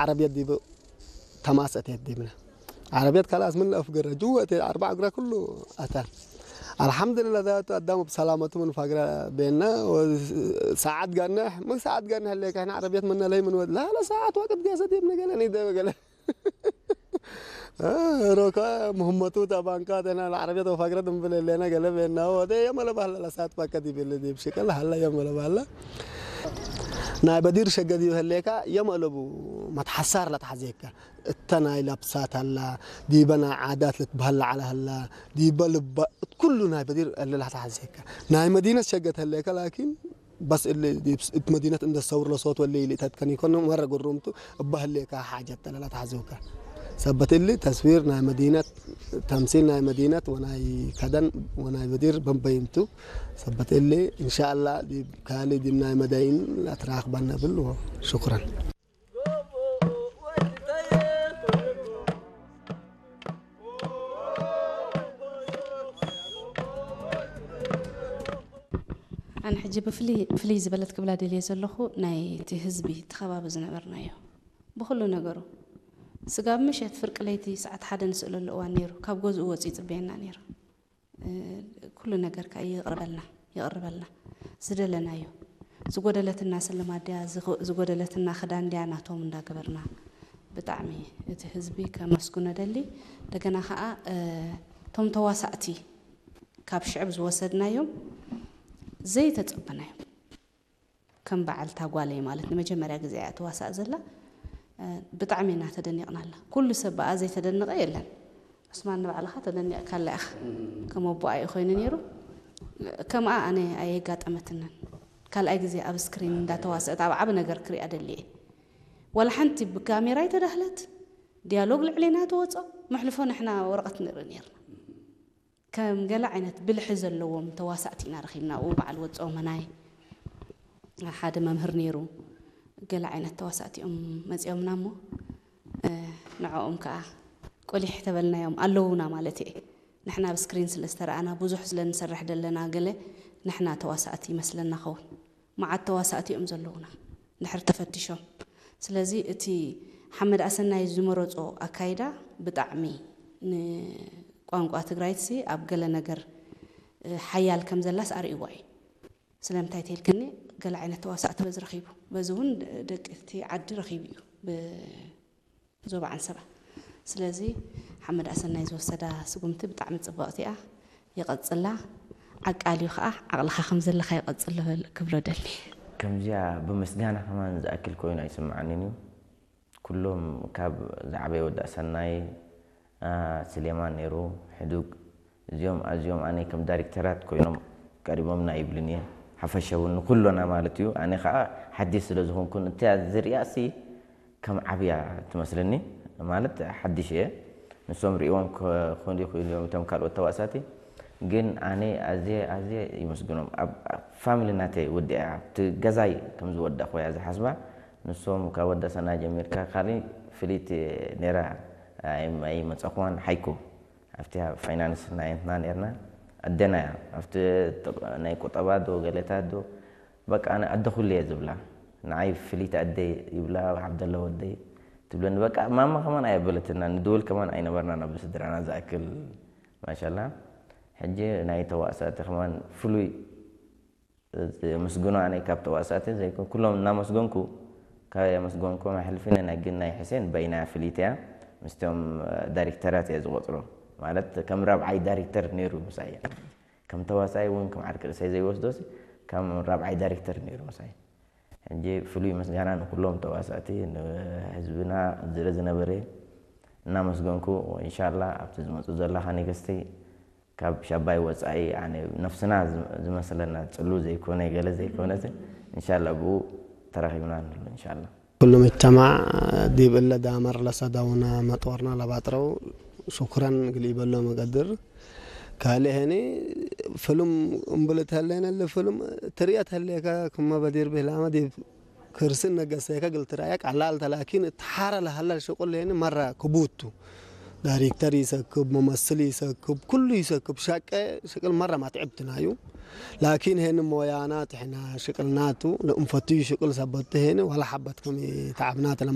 ዓረብየት ዲብ ተማስ እቴት ዲብና። ዓረብየት ካላስ ምን ለአፍገረ ጅወ እቴት አርባዕ እግራ ኩሉ አታ። አልሐምዱሊላህ ዛቱ አዳሙ ብሰላመቱ ምን ፋግራ ቤና። ሰዓት ጋነሕ ምን ሰዓት ጋነሕ ለካ ሕና ዓረብየት ምን ለይ ምን ወድ ላለ ሰዓት ወቅት ገሰ ዲብነ ገለ ኒደ ገለ ሮካ ምህመቱ ተባንካ ተና ለዓረብየት ወፋግረት እንብል ለና ገለ ቤና ወደ የመለ ባህላ ለሳት ባከ ዲብል ዲብ ሽቅል ሀላ የመለ ባህላ ናይ በዲር ሸገ ዲብ ህሌካ የመለቡ መትሐሳር ለትሐዜካ እተ ናይ ለብሳት ሀላ ዲበ ናይ ዓዳት ልትበህል ለዓለ ሀላ ዲበ ልባ ኩሉ ናይ በዲር እለ ለትሐዜካ ናይ መዲነት ሸገት ህሌካ ላኪን በስ እሊ እት መዲነት እንደ ሰውር ለሶት ወለ ኢሊ ተትከን ይኮን መረ ግሩምቱ እባ ህሌካ ሓጀት ተለላ ተሐዝውካ ሰበት እሊ ተስዊር ናይ መዲነት ተምሲል ናይ መዲነት ወናይ ከደን ወናይ በዲር በንበይምቱ ሰበት እሊ እንሻአላ ዲብ ካሊ ዲብ ናይ መዳይን ላትራክበን ነብል ሽኩረን። ኣነ ሕጂ ብፍልይ ዝበለት ክብላ ደልየ ዘለኹ ናይ እቲ ህዝቢ እቲ ከባቢ ዝነበርናዮ ብኹሉ ነገሩ ስጋብ ምሸት ፍርቂ ለይቲ ሰዓት ሓደ ንስእለሉ እዋን ነይሩ። ካብ ገዝኡ ወፂኡ ይፅበየና ነይሩ። ኩሉ ነገር ከዓ ይቕርበልና ይቕርበልና ዝደለናዮ ዝጎደለትና ስልማት ድያ ዝጎደለትና ክዳን ድያ ናቶም እንዳገበርና ብጣዕሚ እቲ ህዝቢ ከመስግኖ ደሊ። እንደገና ከዓ እቶም ተዋሳእቲ ካብ ሽዕብ ዝወሰድናዮም ዘይተፀበናዮም ከም በዓልታ ጓለይ ማለት ንመጀመርያ ግዜ እያ ትዋሳእ ዘላ። ብጣዕሚ ኢና ተደኒቕናላ። ኩሉ ሰብ ብኣ ዘይተደነቐ የለን። ዑስማን ንባዕልኻ ተደኒቕካላ ኢኻ። ከም ኣቦኣ እዩ ኮይኑ ነይሩ። ከምኣ ኣነ ኣየጋጠመትንን። ካልኣይ ግዜ ኣብ ስክሪን እንዳተዋሰእት ኣብ ዓቢ ነገር ክሪኣ ደልየ። ዋላ ሓንቲ ብካሜራ ኣይተዳህለት። ዲያሎግ ልዕሌና ተወጾ። መሕልፎ ንሕና ወረቐት ንርኢ ነይርና። ከም ገለ ዓይነት ብልሒ ዘለዎም ተዋሳእቲ ኢና ረኺብና ኣብኡ በዓል ወፀኦ መናይ ሓደ መምህር ነይሩ ገለ ዓይነት ተዋሳእቲ እዮም መፂኦምና እሞ ንዕኦም ከዓ ቆሊሕ ተበልናዮም ኣለዉና ማለት እየ ንሕና ኣብ ስክሪን ስለ ዝተረኣና ብዙሕ ስለ ንሰርሕ ደለና ገለ ንሕና ተዋሳእቲ ይመስለና ኸውን መዓት ተዋሳእቲ እዮም ዘለዉና ድሕር ተፈቲሾም ስለዚ እቲ ሓመድ ኣሰናይ ዝመረፆ ኣካይዳ ብጣዕሚ ንቋንቋ ትግራይትሲ ኣብ ገለ ነገር ሓያል ከም ዘላስ ኣርእይዋ እዩ ስለምንታይ ተይልክኒ ገለ ዓይነት ተዋሳእቲ በዚ ረኺቡ በዚ እውን ደቂ እቲ ዓዲ ረኺቡ እዩ ዞባ ዓንሰባ ስለዚ ሓመድ ኣሰናይ ዝወሰዳ ስጉምቲ ብጣዕሚ ፅብቕቲ እያ ይቐፅላ ዓቃል እዩ ከዓ ዓቕልኻ ከም ዘለካ ይቐፅል ክብሎ ደሊ ከምዚኣ ብምስጋና ከማን ዝኣክል ኮይኑ ኣይስምዓንን እዩ ኩሎም ካብ ዝዓበየ ወዲ ኣሰናይ ስሌማን ነይሩ ሕዱግ እዚኦም ኣዚኦም ኣነ ከም ዳይሬክተራት ኮይኖም ቀሪቦምና ይብልን እየ ሓፈሻዊ ንኩሎና ማለት እዩ ኣነ ከዓ ሓዲስ ስለ ዝኮንኩን እታ ዝሪኣ ሲ ከም ዓብያ ትመስለኒ ማለት ሓድሽ እየ ንሶም ሪእዎም ክኾኑ ይኽእሉ እዮም እቶም ካልኦት ተዋሳእቲ ግን ኣነ ኣዝየ ኣዝየ ይመስግኖም ኣብ ፋሚሊ ናተይ ወዲኣ ኣብቲ ገዛይ ከም ዝወዳእኩ እያ ዝሓስባ ንሶም ካብ ወዲ ኣሰና ጀሚርካ ካሊ ፍልይቲ ነይራ ኣይመፀኹዋን ሓይኮ ኣብቲ ፋይናንስ ናይ እንትና ነርና ኣደና እያ ኣብቲ ናይ ቁጠባ ዶ ገለታት ዶ በቃ ኣነ ኣደ ኩሉ እየ ዝብላ ንዓይ ፍልይቲ ኣደይ ይብላ ዓብደላ ወደይ ትብለኒ በቃ ማማ ከማን ኣየበለትና ንድውል ከማን ኣይነበርና ናብ ስድራና ዝኣክል ማሻላ ሕጂ ናይ ተዋሳእቲ ከማን ፍሉይ ምስግኖ ኣነ ካብ ተዋሳእቲ ዘይኮን ኩሎም እናመስገንኩ ካብ የመስገንኩም ኣሕልፊ ናይ ግን ናይ ሕሴን በይና ፍልይቲ እያ ምስቶም ዳይሬክተራት እየ ዝቆፅሮ ማለት ከም ራብዓይ ዳይሬክተር ነይሩ ምሳይ ከም ተዋሳይ እውን ከም ዓርቂ ርእሰይ ዘይወስዶስ ከም ራብዓይ ዳይሬክተር ነይሩ ምሳይ ሕጂ ፍሉይ ምስጋና ንኩሎም ተዋሳእቲ ንህዝብና ዝረ ዝነበረ እናመስገንኩ እንሻላ ኣብቲ ዝመፁ ዘለካ ኔገስቲ ካብ ሻባይ ወፃኢ ኣነ ነፍስና ዝመስለና ፅሉ ዘይኮነ ገለ ዘይኮነትን እንሻላ ብኡ ተራኺብና ንሉ እንሻላ ኩሉ ምጅተማዕ ዲብ እለ ዳመር ለሰደውነ መጥወርነ ለባጥረው ሹክረን እግል ኢበሎ መገድር ካልእ ሄኒ ፍሉም እምብል ተህሌነ እለ ፍሉም ትርኤ ተህሌከ ክመ በዲር ብህላመ ዲብ ክርሲ እነገሰከ እግል ትርአየ ቀላል ተ ላኪን እት ሐረ ለሀለ ሽቁል ሄኒ መረ ክቡድ ቱ ዳይሬክተር ይሰክብ፣ መመስል ይሰክብ፣ ኩሉ ይሰክብ። ሸቀ ሽቅል መረ ማትዕብትናዩ። ላኪን ሄን ሞያናት ሕና ሽቅልናቱ ለእንፈትዩ ሽቅል ሰበቱ ሄን ወላ ሐበት ከም ተዓብናት ለማ